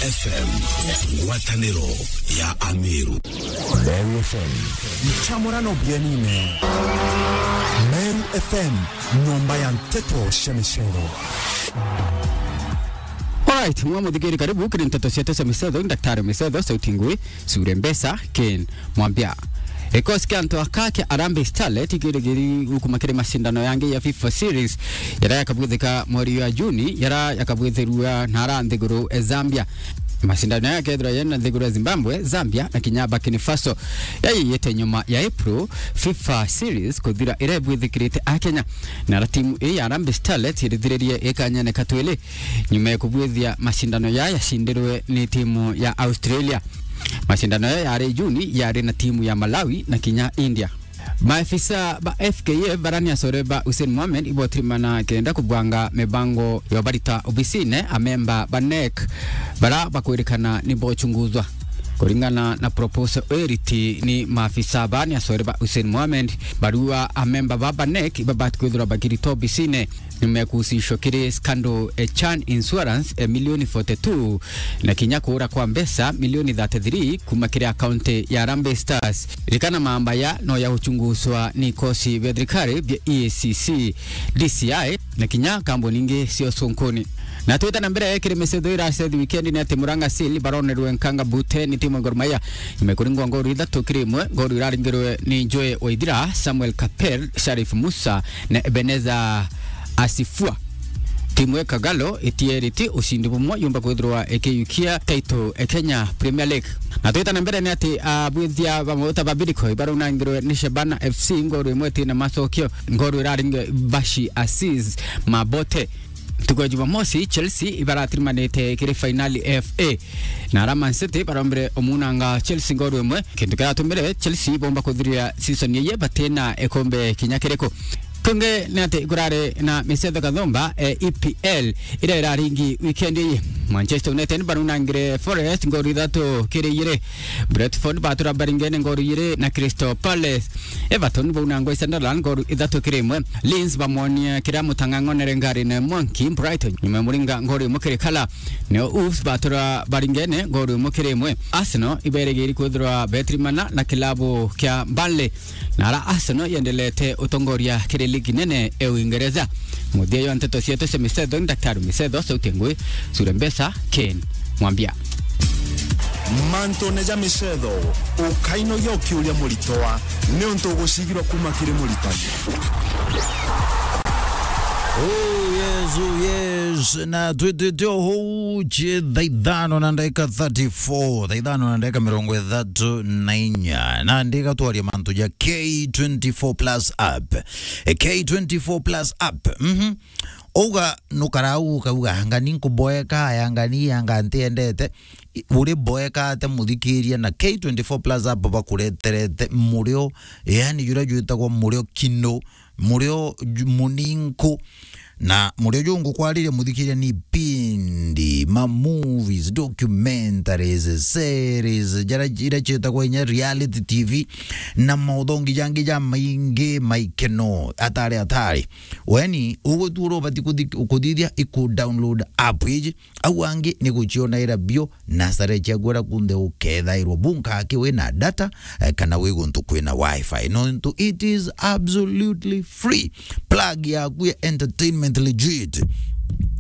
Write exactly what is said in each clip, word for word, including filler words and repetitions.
F M, ngwataniro ya Ameru. Meru F M. Nchamurano bienine. Meru F M, nyomba ya nteto cia micero. Alright, mwa muthikiri, karibu kiri nteto cia tese misetho, Daktari Misetho, sauti ngui, sure mbesa, Ken Mwambia. Gikosi kia antu aka kia Harambee Starlet ikirigiri gukuma kiri macindano yangi ya FIFA Series, yara yakabwithika mweri ya Juni, yara yakabwithirua nara nthiguru e Zambia. Macindano yaya yakethirwa yena nthiguru ya Zimbabwe, Zambia na kinya Burkina Faso. Yayiyite nyuma ya April FIFA Series kuthira, ira ibwithikirite a Kenya. Na ara timu ii ya Harambee Starlet irithiririe ikanyene katwili nyuma ya kubwithia macindano yaya yacindirwe ni timu ya Australia. Macindano yaya yari Juni, yari na timu ya Malawi na kinya India. Maafisa ba F K F barani acore ba Hussein Mohamed ibotirimana kenda kubwanga mibango ya barita obisine amemba ba NEC bara bakwirikana ni bochunguzwa. Kuringana na proposal eriti ni maafisa bani acore ba Hussein Mohamed, barua amemba ba ba NEC ibabati kwithirwa bakirita obisine nyuma ya kuhusishwa kiri scandal e Chan Insurance e milioni forty two na kinya kuura kwa mbeca milioni thirty three kuma kiri akaunti ya Harambee Stars. Ririkana mamba ya no ya uchunguzwa ni ikosi bia thirikari bia E A C C, D C I na kinya kambuni ingi cia ucunkuni. Na twita na mbere kiri misetho iracethi wikendi ni ati Murang'a Seal baronerwe nkanga bute ni timu ya Gor Mahia. Nyuma ya kuringwa ngoru ithatu kiri imwe, ngoru iraringirwe ni Joe Waithira, Samuel Kaper, Sharif Musa na Ebenezer Asifua. Timu ya Kagalo itieriti ucindi bumwe yumba kwithirwa ikiyukia title e Kenya Premier League. Na twita na mbere ni ati abwithia ba mauta ba Bidco ibarunangirwe ni Shabana F C ngoru imwe tina macokio, ngoru iraringe Bashi Aziz Mabote. Ntuku ya Jumamosi, Chelsea ibaratirimanite kiri fainali F A. Na ara Man City barombire umunanga Chelsea ngoru imwe, kintu kiratumire Chelsea bomba kuthiria season yeye batina ikombe kinya kiriku. Kungi ni ati kurari na misetho kathomba, e, E P L, iria iraringi weekend iyi. Manchester United barunangire Forest ngoru ithatu kiri ijiri. Brentford batura baringene ngoru ijiri na Crystal Palace. Everton baunangwa i Sunderland ngoru ithatu kiri imwe. Leeds bamonia kiria mutang'ang'onere ngari na Monkey Brighton nyuma ya muringa ngoru imwe kiri kala. Nio Wolves batura baringene ngoru imwe kiri imwe. Arsenal iberigiri kwithirwa betirimana na kilabu kia Burnley. Na ara Arsenal yendelete utongoria kiri ligi nene e Uingereza. Muthia jwa nteto cietu cia misetho ni Daktari Misetho, sauti ngui, sure mbesa, Ken Mwambia. Mantune ja misetho, ukainogia ukiuria muritoa, niuntu ugucigirwa kuma kiri muritani. Oh, yes, oh, yes. Na twitite o huu cie thaa ithano na ndagika thirty-four, thaa ithano na ndagika mirongo ithatu na inya. Na ndika twaria mantu ja K twenty-four Plus app. E, K twenty-four Plus app. Mhm. Uga nukarau ukauga, "Anga ni nkuboeka, aya anga ni, anga ntiendete." I-, uri boeka ate muthikiria na K twenty-four Plus app bakureterete murio, yani juria jwitagwa murio kino, murio ju-, muninku. Na murio ju ngukwariria muthikiria ni pindi, ma movies, documentaries, series, jara, ira ciitagwa inya reality T V, na mauthongi jangi ja maingi maikeno, atari, atari. Weni, ugwe tu uria ubati kuthi-, kuthithia iku download app iji, au angi ni gucionaira bio nasare ciaku ara kunthe ukethairwa bunka aki wina data, eh, kana wi guntu kwina wifi. Nontu it is absolutely free. Plug yaku ya entertainment legit.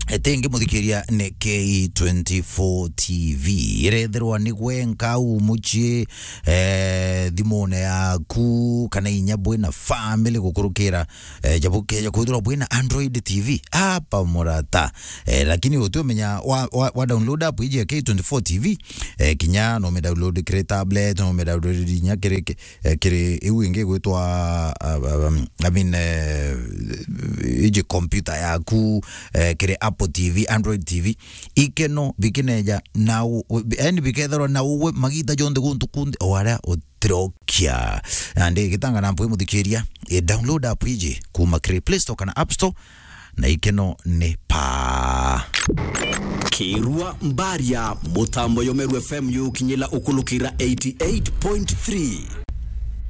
Etengi muthikiria ni K twenty-four T V. Irethirwa ni gwenka u mucii, eh, thimune yaku, kana inya bwina family gukurukira, eh, jabu keja kwithirwa bwina Android T V. Apa murata. Eh, lakini uti umenya wa, wa, wa download app iji ya K twenty-four T V, eh, kinya no me download kiri tablet, no me download inya kiri ki-, eh, kiri iu ingi gwitwa, uh, um, I mean, eh, iji computer yaku, eh, kiri Apple T V, Android T V, ikeno bikineja na u-, u-, yani biketherwa na uwe magita jonthe guntu kunthe o aria utirokia. Na ndi gitanga na mpwi muthikiria, eh, download app iji kuma kiri Play Store kana App Store, na ikeno ni paa. Kirua Mbaria, mutambo yo Meru F M yukinyila ukulukira eighty-eight point three.